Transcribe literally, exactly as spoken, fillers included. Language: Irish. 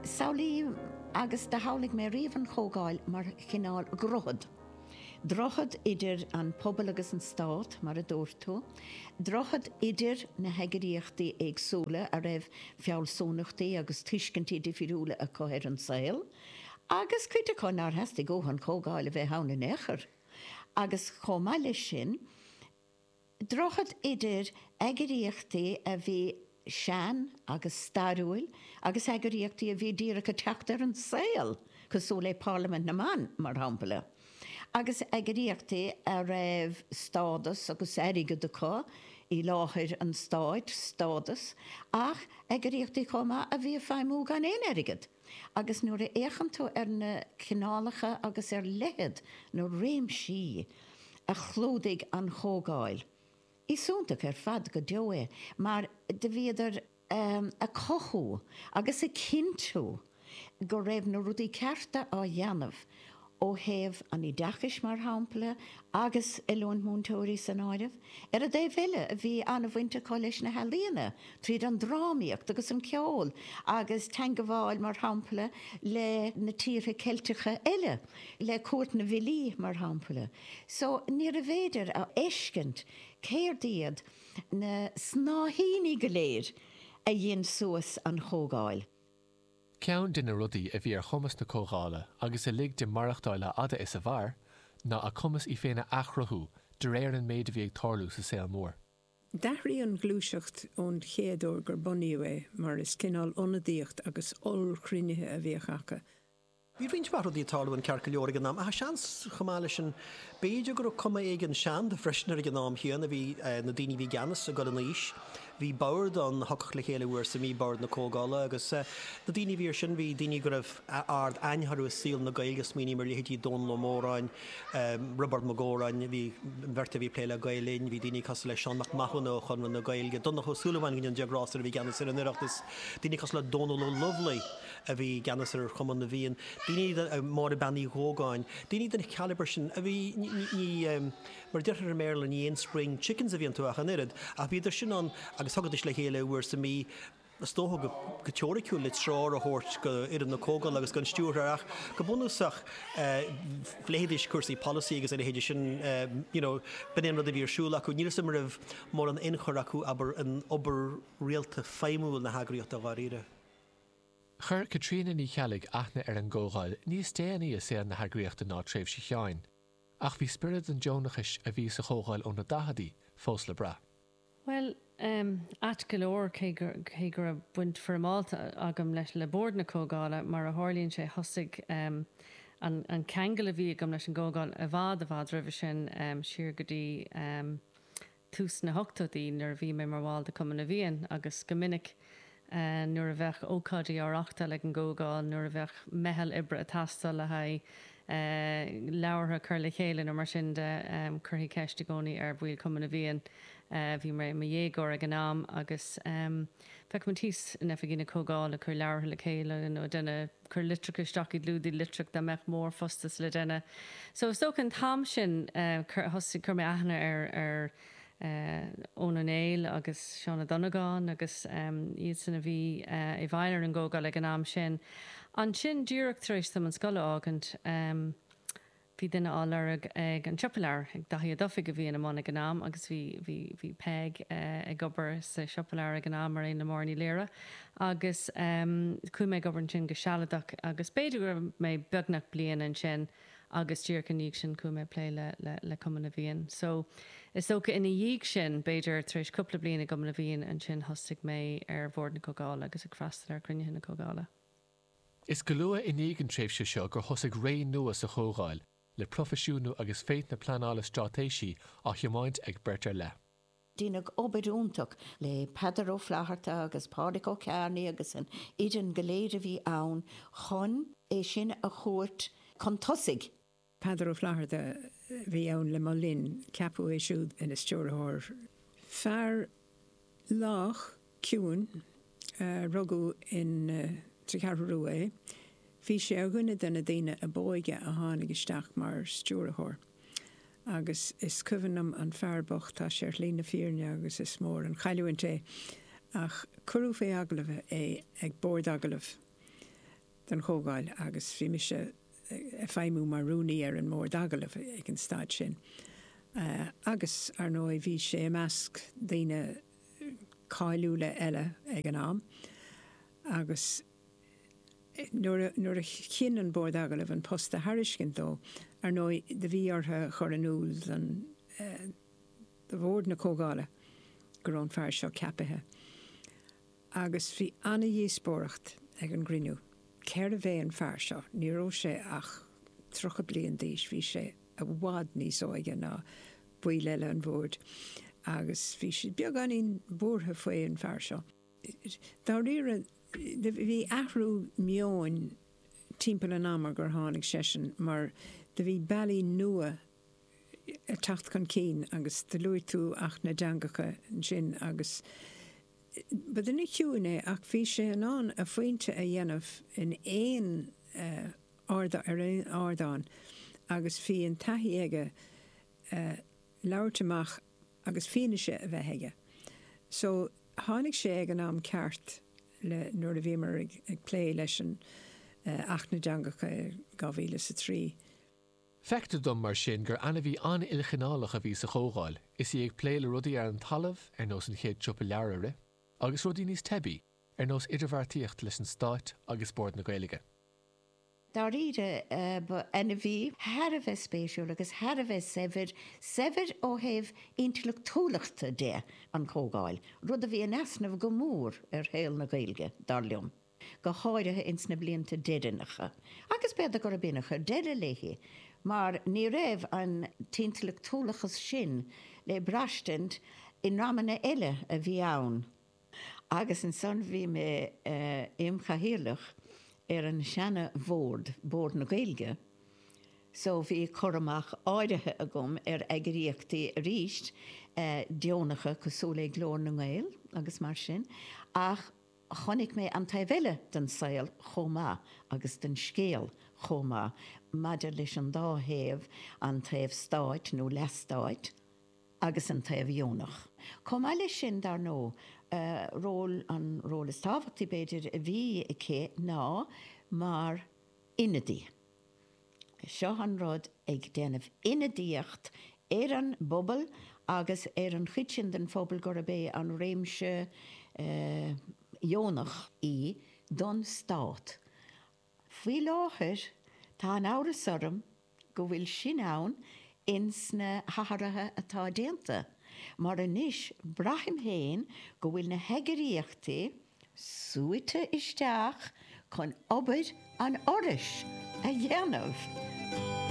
Samhlaím agus do shamhlaigh mé riamh an Chomhdháil mar chineál droichead. Droichead idir an pobal agus an stát, mar a dúirt tú, droichead idir na heagraíochtaí éagsúla a raibh fealsúnachtaí agus tuiscintí difriúla acu ar an saol, agus cuid acu nár theastaigh uathu an Chomhdháil a bheith ann in aon chor. Agus chomh maith leis sin, droichead idir eagraíochtaí a bhí sean agus stairiúil agus eagraíochtaí a bhí díreach ag teacht ar an saol, cosúil le Parlaimint na mBan, mar shampla, agus eagraíochtaí a raibh stádas agus airgead acu i láthair an stáit, stádas, ach eagraíochtaí chomh maith a bhí ag feidhmiú gan aon airgead. Agus nuair a fhéachann tú ar na cineálacha agus ar leithead na réimsí a chlúdaigh an Chomhdháil, is iontach ar fad go deo é mar do bhíodar ag cothú agus ag cinntiú go raibh na rudaí cearta á dhéanamh ó thaobh an oideachais, mar shampla, agus oiliúint múinteoirí san áireamh. Ar an dtaobh eile, bhí an-bhaint acu leis na healaíona, tríd an drámaíocht agus an ceol agus teangabháil, mar shampla, le na tíortha Ceilteacha eile, le Cúirt na bhFilí, mar shampla. So, níorbh fhéidir a fheiscint céard iad na snáithíní go léir a dhein suas an Chomhdháil. Ceann de na rudaí a bhí ar chumas na Comhdhála agus a lig di maireachtáil a fhada is a mhair, ná a cumas í féin a athchruthú de réir an méid a bhí ag tarlú sa saol mór. D'athraigh an ghluaiseacht ón chéad uair gur bunaíodh é, mar is cineál ionadaíocht agus ollchruinnithe a bhíodh acu. Bhí roinnt mhaith rudaí ag tarlú an ceart go leor ag an am, ach seans chomh maith leis sin, b'fhéidir go raibh cuma éigin seanda freisin air ag an am chéanna. Bhí na daoine a bhí i gceannas ag dul in aois. Bhí bord ann a thiocfadh le chéile uair sa mhí, bord na Comhdhála, agus na daoine a bhí air sin, bhí daoine go raibh ard-aithne orthu i saol na Gaeilge, smaoiním ar leithéidí Dónall Ó Móráin, Roibeard Mac Góráin, bhí an bheirt a bhí ag plé le Gael Linn, bhí daoine cosúil le Seán Mac Mathúna ó Chonradh na Gaeilge, Donncha Ó Súilleabháin, go ndéana Dia grásta air, a bhí i gceannas ar an Oireachtas, daoine cosúil le Dónal Ó Lubhlaí. a bhí i gceannas ar Chumann na bhFiann, daoine, Máire Bean Uí Ghógáin, daoine den chalibre sin a bhí, ní, mar a deirtear i mBéarla, ní aon spring chickens a bhí iontu ach an oiread, ach bhíodar sin ann agus thagaidís le chéile uair sa mhí, is dócha go, go teoiriciúil le treoir a thabhairt go fhoireann na Comhdhála agus don stiúrthóir ach go bunúsach phléidís cúrsaí polasaí agus a leithéide sin, you know, b'in é an rud a bhí ar siúl acu. Níl 'fhios a'm an raibh mórán ionchur acu, abair, in obair rialta feidhmiúil na heagraíochta dháiríre. Chuir Caitríona Ní Cheallaigh aithne ar an gComhdháil níos déanaí i saol na heagraíochta ná tréimhse Sheáin, ach bhí spiorad an deonachais a bhí sa Chomhdháil ó na daicheadaí fós le brath. Bhuel, ait go leor, cé go cé go raibh baint foirmeálta agam leis le Bord na Comhdhála, mar a tharlaíonn sé, thosaigh an an ceangal a bhí agam leis an gComhdháil i bhfad i bhfad roimhe sin, siar go dtí tús na hochtóidí nuair a bhí mé mar bhall de Chumann na bhFiann agus go minic nuair a bheadh ócáidí á reáchtáil ag an gComhdháil, nuair a bheadh meitheal oibre ag teastáil le haghaidh leabhartha a chur le chéile nó mar sin de, chuirfí ceist i gcónaí ar bhaill Chumann na bhFiann. Bhí mé i mo dhéagóir ag an am agus bheadh muid thíos in oifigí na Comhdhála ag cur leabhartha le chéile nó ag déanamh, cur litreacha isteach i gclúdaigh litreach dá mbeadh mórphostas le déanamh. So is dócha an t-am sin thosaigh, chuir mé aithne ar ar Eoin Ó Néill agus Seán Ó Donnabháin agus iadsan a bhí i bhfeighil ar an gComhdháil ag an am sin. Ansin díreach tar éis dom an scoil a fhágaint, bhí duine á lorg ag an Siopa Leabhar, ag Daithí Ó Dufaigh a bhí ina mbun ag an am agus bhí, bhí, bhí Peig ag obair sa Siopa Leabhar ag an am mar aon le Máire Ní Laoire agus chuaigh mé ag obair ansin go sealadach agus b'fhéidir go raibh mé beagnach bliain ansin agus díreach ina dhiaidh sin chuaigh mé ag plé le, le, le Cumann na bhFiann. So is dócha ina dhiaidh sin, b'fhéidir tar éis cúpla bliain i gCumann na bhFiann ansin thosaigh mé ar Bhord na Comhdhála agus ag freastal ar chruinnithe na Comhdhála. Is go luath i ndiaidh an tréimhse seo gur thosaigh ré nua sa Chomhdháil, le proifisiúnú agus féith na pleanála straitéisí á thiomáint ag beirt ar leith. Deineadh obair iontach le Peadar Ó Flatharta agus Pádraig Ó Cearnaigh agus an fhoireann go léir a bhí ann chun é sin a thabhairt chun tosaigh. Peadar Ó Flatharta a bhí ann le mo linn, ceapadh é siúd ina stiúrthóir. Fear lách, ciúin, rugadh in sa Cheathrú Rua é. Bhí sé ar dhuine de na daoine ab óige a tháinig isteach mar stiúrthóir. Agus is cuimhin liom an fear bocht, tá sé ar shlí na fírinne agus is mór an chailliúint é, ach cuireadh faoi agallamh é ag bord agallaimh. don Chomhdháil agus bhí mise ag feidhmiú mar rúnaí ar an mbord agallaimh ag an staid sin. Agus ar ndóigh bhí sé i measc daoine cáiliúla eile ag an am agus nuair nuair a chinn an bord agallaimh an post a thairiscint dó, ar ndóigh do bhí orthu a chur in iúl don do bhord na Comhdhála go raibh an fear seo ceapaithe. Agus bhí ana-dhíospóireacht ag an gcruinniú. Cérbh é an fear seo? Ní raibh sé ach tríocha bliain d'aois, bhí sé i bhfad níos óige ná baill eile an bhoird agus bhí siad beagáinín buartha faoi an fear seo. Dáiríre, bhí athrú meoin timpeall an ama gur tháinig seisean mar do bhí bealaí nua ag teacht chun cinn agus do luaigh tú Acht na dTeangacha ansin agus ba duine ciúin é ach bhí sé in ann a phointe a dhéanamh in aon ar aon ardán agus bhí an taithí aige labhairt amach agus fianaise a bheith aige. So tháinig sé ag an am ceart le nuair a bhíomar ag, ag plé leis an Acht na dTeangacha dhá mhíle is a trí. Feictear dom mar sin gur ainmhí an-ilchineálach a bhí sa Chomhdháil, is í ag plé le rudaí ar an talamh, ar nós an chéad siopa leabhar a rith, agus rudaí níos teibí, ar nós idirbheartaíocht leis an Stát agus Bord na Gaeilge. Dáiríre, ba ainmhí thar a bheith spéisiúil agus thar a bheith saibhir, saibhir ó thaobh intleachtúlachta de, an Chomhdháil, rud a bhí in easnamh go mór ar shaol na Gaeilge, dar liom. go háirithe ins na blianta deireanacha, agus b'fhéidir gurb in a chuir deireadh léi, mar ní raibh an t-intleachtúlachas sin le braistint in amanna eile a bhí ann. Agus ansan bhí mé im chathaoirleach ar an seana-bhord, Bord na Gaeilge, so bhí cur amach áirithe agam ar eagraíochtaí arís deonacha cosúil le Glór na nGael agus mar sin, ach Chonaic mé an taobh eile den saol chomh maith agus den scéal chomh maith maidir leis an dá thaobh, an taobh stáit nó leathstáit agus an taobh dheonach. Chomh maith leis sin, dar ndóigh, ról, an ról is tábhachtaí b'fhéidir a bhí aici ná mar ionadaí. Seo an rud, ag déanamh ionadaíocht ar an bpobal agus ar an chuid sin den phobal gurb é an réimse dheonach í don stát. Faoi láthair tá an amhras orm go bhfuil sin ann ins na hathruithe atá déanta, mar anois braithim féin go bhfuil na heagraíochtaí suaite isteach chun obair an Fhorais a dhéanamh.